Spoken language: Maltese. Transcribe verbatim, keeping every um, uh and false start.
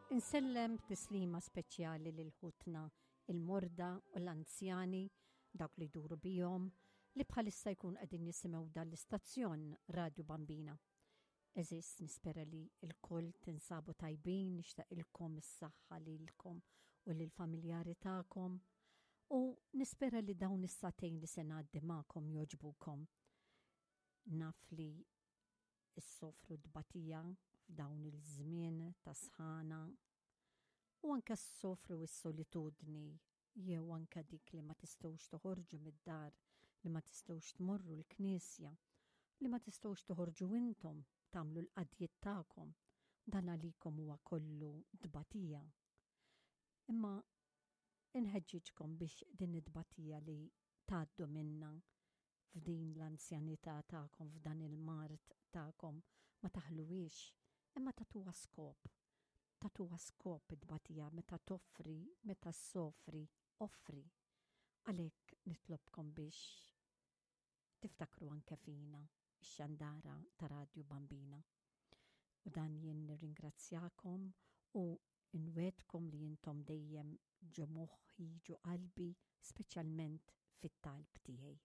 Insellem tislima speċjali lil ħutna il-morda u l-anzjani, dawk li jduru bihom, li bħalissa jkun qegħdin jisimgħu dan l-istazzjon Radju Bambina. Eżis, nispera li l-koll tinsabu tajbin, nixtaqilkom is-saħħa lilkom u lill-familjari tagħkom u nispera li dawn is-sagħtejn li se ngħaddi magħkom jogħġbukom. Naf li issofru tbatija f'dawn il-żmien ta' sħana u anke ssofru s-solitudni jew anke dik li ma tistgħux toħorġu mid-dar, li ma tistgħux tmorru l-knisja, li ma tistgħux toħorġu intom tagħmlu l-qadjiet tagħkom. Dan għalikom huwa kollu tbatija. Imma inħeġġiġkom biex din it-tbatija li tgħaddu minna f'din l-anzjanità tagħkom, f'dan il-mard tagħkom, ma taħluwiex, imma tagħtuha skop. Tagħtuha skop it-tbatija meta toffri, meta ssofri, offri. Għalhekk nitlobkom biex tiftakru anke fina, ix-xandara ta' Radju Bambina. U dan jien nirringrazzjakom u nwegħedkom li intom dejjem ġo moħħi, ġo qalbi, speċjalment fit-talb tiegħi.